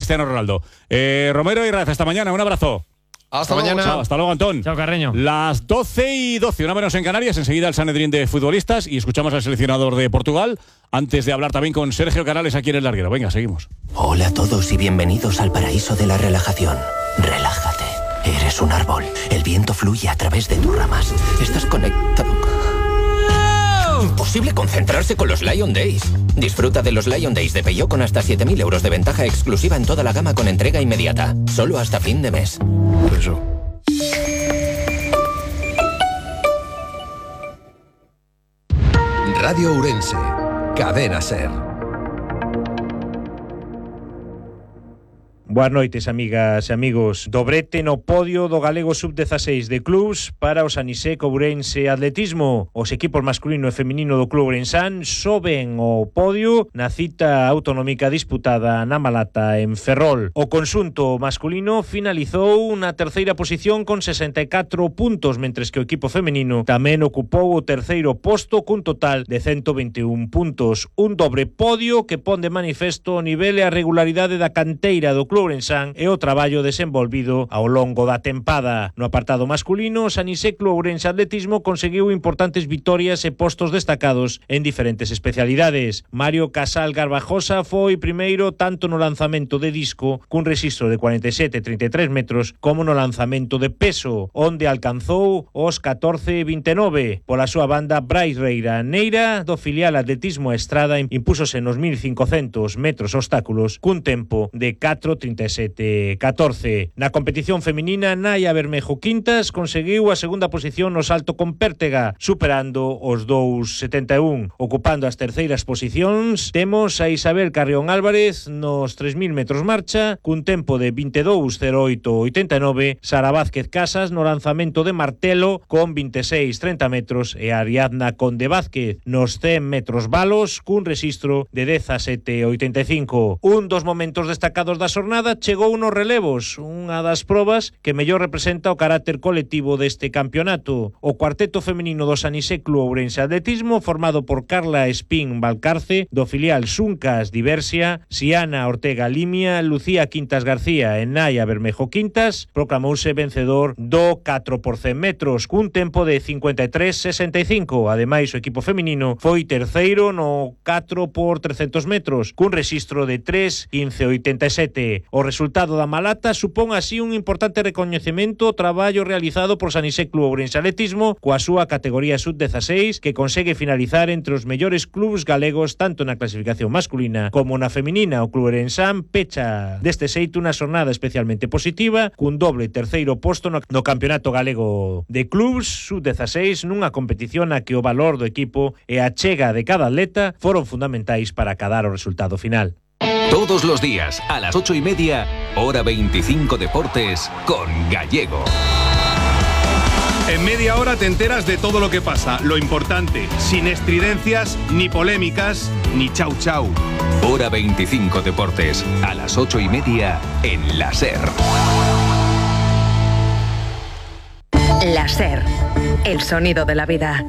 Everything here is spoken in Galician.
Cristiano Ronaldo. Romero y Raz, hasta mañana, un abrazo. Hasta mañana. Chao, hasta luego, Antón. Chao, Carreño. Las 12:12, una menos en Canarias. Enseguida el Sanedrín de futbolistas y escuchamos al seleccionador de Portugal. Antes de hablar también con Sergio Canales aquí en El Larguero. Venga, seguimos. Hola a todos y bienvenidos al paraíso de la relajación. Relájate. Eres un árbol. El viento fluye a través de tus ramas. Estás conectado. Imposible concentrarse con los Lion Days. Disfruta de los Lion Days de Peugeot con hasta 7.000 euros de ventaja exclusiva en toda la gama con entrega inmediata. Solo hasta fin de mes. Eso. Radio Ourense, Cadena Ser. Boas noites, amigas e amigos. Dobrete no podio do Galego Sub-16 de clubs para o Sanisec Ourense Atletismo. Os equipos masculino e feminino do Club Ourensán soben o podio na cita autonómica disputada na Malata en Ferrol. O conxunto masculino finalizou na terceira posición con 64 puntos, mentres que o equipo feminino tamén ocupou o terceiro posto cun total de 121 puntos. Un dobre podio que pon de manifesto o nivel e a regularidade da canteira do Club Ourensán e o traballo desenvolvido ao longo da tempada. No apartado masculino, o Sanisec Club Ourense Atletismo conseguiu importantes vitorias e postos destacados en diferentes especialidades. Mario Casal Garbajosa foi primeiro tanto no lanzamento de disco, cun rexistro de 47,33 metros, como no lanzamento de peso, onde alcanzou os 14,29. Pola súa banda, Brais Reira Neira, do filial Atletismo Estrada, impúsose nos 1.500 metros obstáculos, cun tempo de 4:37:14. Na competición feminina, Naya Bermejo Quintas conseguiu a segunda posición no salto con pértega, superando os 2,71. Ocupando as terceiras posicións, temos a Isabel Carrión Álvarez nos 3.000 metros marcha, cun tempo de 22:08:89, Sara Vázquez Casas no lanzamento de martelo con 26:30 metros e Ariadna Conde Vázquez nos 100 metros balos cun rexistro de 17:85. Un dos momentos destacados da xornada chegou nos relevos, unha das probas que mellor representa o carácter colectivo deste campeonato. O cuarteto feminino do Sanisec Club Ourense Atletismo, formado por Carla Espín Valcarce, do filial Xuncas Diversia, Siana Ortega Limia, Lucía Quintas García e Naya Bermejo Quintas, proclamouse vencedor do 4x100 metros, cun tempo de 53:65. Ademais, o equipo feminino foi terceiro no 4x300 metros, cun rexistro de 3:15:87. O resultado da Malata supón así un importante recoñecemento ao traballo realizado por Sanisec Club Ourense Atletismo coa súa categoría sub-16, que consegue finalizar entre os mellores clubs galegos tanto na clasificación masculina como na feminina. O Club Ourensán pecha deste xeito unha xornada especialmente positiva, cun doble terceiro posto no Campeonato Galego de Clubs sub-16, nunha competición na que o valor do equipo e a chega de cada atleta foron fundamentais para acadar o resultado final. Todos los días, a las 8:30, Hora 25 Deportes, con Gallego. En media hora te enteras de todo lo que pasa, lo importante, sin estridencias, ni polémicas, ni chau chau. Hora 25 Deportes, a las 8:30, en la SER. La SER, el sonido de la vida.